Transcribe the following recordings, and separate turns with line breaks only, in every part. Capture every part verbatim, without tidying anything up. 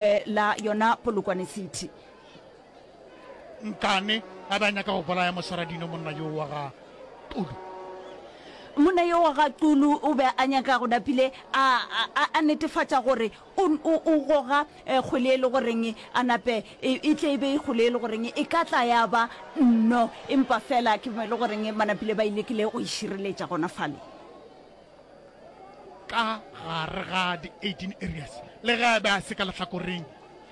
La yona Polokwane City.
Nkane a be a nyaka go bolaya moswaradino monna yo wa ga Xulu?
Monna yo wa ga Xulu o be a nyaka go napile a, a, a netefatša gore o, o, o goga kgwele e le goreng a nape e, e tle e be kgwele e le goreng e ka tla ya ba nno, empa fela ke mo e le goreng manapile ba ilekile go e šireletša gona fale.
Ka gare ga di eighteen areas, le ge a be a se ka lehlakoreng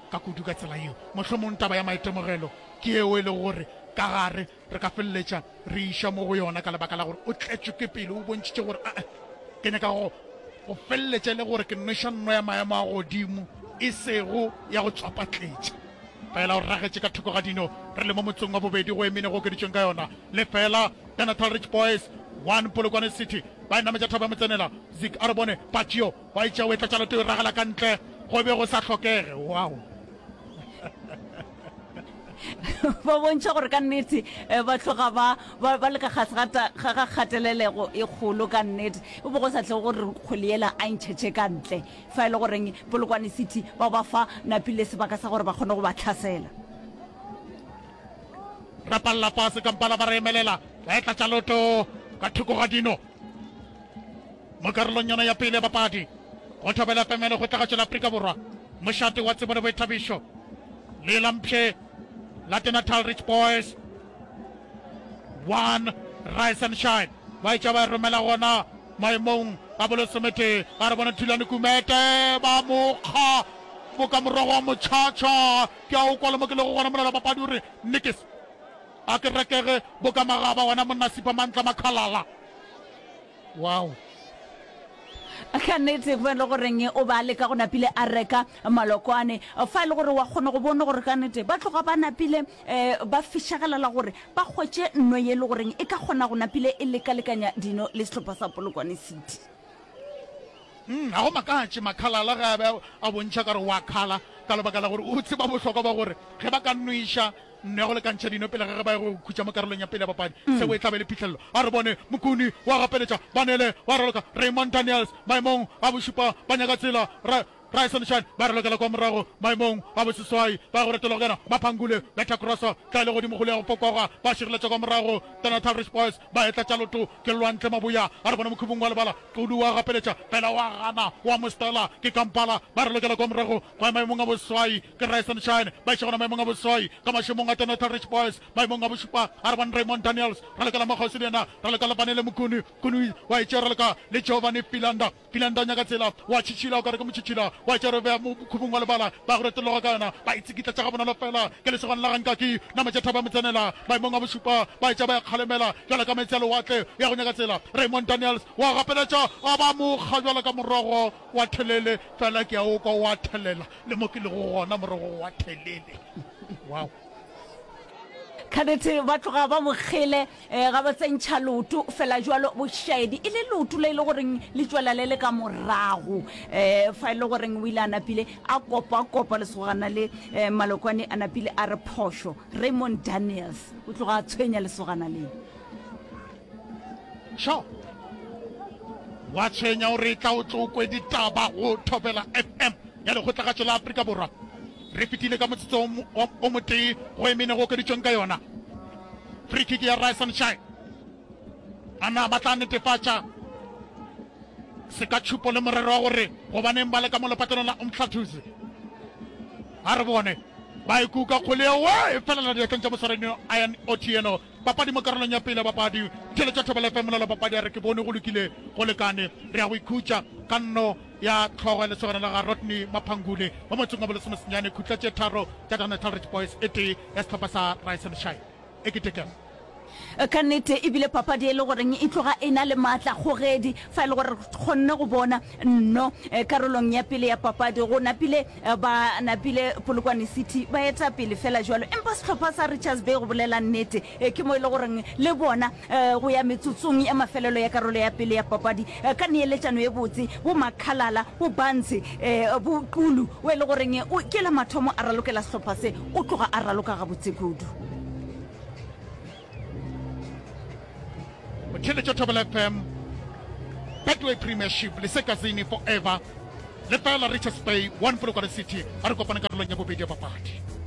ka kudu ka tsela yeo. Mohlomong taba ya maitemogelo ke yeo e lego gore ka gare re ka feleletša re iša mo go yona ka lebaka la gore o tletšwe ke pelo, o bontšhitše gore a-a, ke nyaka go go feleletša e le gore ke nweša nno ya maemo a godimo e sego ya go tswapatletša. Fela o ragetše ka thoko ga dino re le mo motsong wa bobedi go e mene go okeditšweng ka yona. Lefela, The Natal Rich Boys one, Polokwane City ba e nametša thaba ya motsenela. Zig a re bone Pacio wa e tšea o e tlatša leoto e ragela ka ntle go be go sa hlokege. Wow!
Ba bontšha gore ka nnete ba tloga ba ba le ka gase ga ga kgatelelego e kgolo ka nnete. Go be go sa tle gore kgwele yela a e ntšhetše ka ntle. Fa e le goreng Polokwane City ba ba fa napile sebaka sa gore ba kgone go ba tlhasela.
Rapalla fase Kampala ba re emelela ba e tlatša loto ka thoko ga dino mo karolong yona ya pele ya papadi go thobela F M le kgotlagatšo la Afrika Borwa mošate wa tsebo le boithabišo le lampše la The Natal Rich Boys one Rise and Shine ba etša ba e romela gona maemong a bolesometee a re bone Thulani Kumete ba mokga boka morogo wa motšhatšha ke a o kwa le mo ke lego gona molala papadi o re Nikis a ke rekege boka magaba wena monna Sipa Mantla Makhalala wow.
Ka nnete go le goreng o ba leka go napile a reka malokwane fa e le gore wa kgona go bona gore ka nnete ba tloga ba napile um ba fišagelela gore ba hwetše nno ye le goreng e ka kgona go napile e lekalekanya dino le sehlopha sa Polokwane City.
Mm, ga go makatše Makhalala ge a be a bontšha ka gore wa khala ka lebaka la gore o tseba bohlokwa ba gore ge ba ka nweša nno ya go lekantšha dino pele ga ge ba ye go khutša mo karolong ya pele ya papadi, seo e tla be le phihlelelo. A re bone, Mokuni wa gapeletša, Banele wa raloka, Raymond Daniels maemong a bošupa ba nyaka tsela, Ra, Rise and Shine ba ralokela kwa morago maemong a boseswai ba go retela go kena, Maphangule, Betha Crosso, tla e le godimo kgole ya go pokoga, ba šireletša kwa morago, The Natal Rich Boys ba etla tša loto ke Lwantle Maboya, a re bone mokhubung wa lebala, Qudu wa gapeletša, fela wa gana, wa mostela ke Kampala, ba ralokela kwa morago kwa maemong a boseswai ke Rise and Shine, ba iša gona maemong a boseswai ka mašemong a The Natal Rich Boys, maemong a bošupa a re bone Raymond Daniels, raloka la Mokgosi le yena, raloka la Banele Mokuni, Kuni wa e tšea, raloka le Giovanni Philander. Philander o nyaka tsela, wa tšhitšhila o ka re ke motšhitšhila, wa e tšea re bea mokhubung wa lebala, ba go retologa ka yona, ba itsikitla tša gabonolo fela, ke lesogana la ga Nkaki, nama tša thaba ya motsenela, maemong a bošupa, ba e tšea ba e kgalemela, bjalo ka meetse a lewatle, ya go nyaka tsela, Raymond Daniels wa gapeletša, a ba mokga bjalo ka morogo wa thelele, fela ke a o kwa wa thelela, le mo ke lego gona morogo wa thelele. Wow.
Kadete ba tloga ba mo kgele ga ba tsentšha leoto fela jwalo bošaedi e le leoto le e le goreng le tšwela le le ka morago um fa e le goreng o ile a napile a kopa kopa lesogana le um Malokwane a napile a re phošo Raymond Daniels o tloga a tshwenya lesogana le.
Sure. Wa tshwenya o re tla o tlo kwe ditaba go Thobela F M ya Lekgotlagatšo la Afrika Borwa. Re fetile ka motsotso o motee go e mene go okeditšweng ka yona. Free kick ya Rise and Shine. A na ba tla netefatša sekatšhupo le morero wa gore gobaneng ba le ka mo lepatlelong la Umhlathuze? A re bone ba e kuka kgwele eo e felela diatleng tša moswarani Ian Otieno. Papadi mo karolong ya pele ya papadi. Theeletša Thobela F M Molala papadi a re ke bone go lokile go lekane. Re ya go ikhutša ka nno ya hlogo ya lesogana la ga Rodney Maphangule mo motsong wa bolesomesenyane khutla tše tharo tša The Natal Rich Boys e tee ya sehlopha sa Rise and Shine. E ke tekelo.
Ka nnete e bile papadi e le goreng e tloga e na le maatlakgogedi fa e le gore re kgonne go bona nno karolong ya pele ya papadi go napile ba napile Polokwane City ba eta pele fela jwalo empa sehlopha sa Richards Bay go bolela nnete ke mo e le goreng le bona go ya metsotsong ya mafelelo ya karolo ya pele ya papadi ka neeletšano e botse bo Makhalala bo Bantshe bo Qulu o e le goreng ke la mathomo a ralokela sehlopha se o tloga a raloka gabotse kudu.
Motheeletša Thobela F M, Betway Premiership le Sekazini Forever. Lefela Richards Bay, one Polokwane City. A re kopane karolong ya bobedi ya papadi.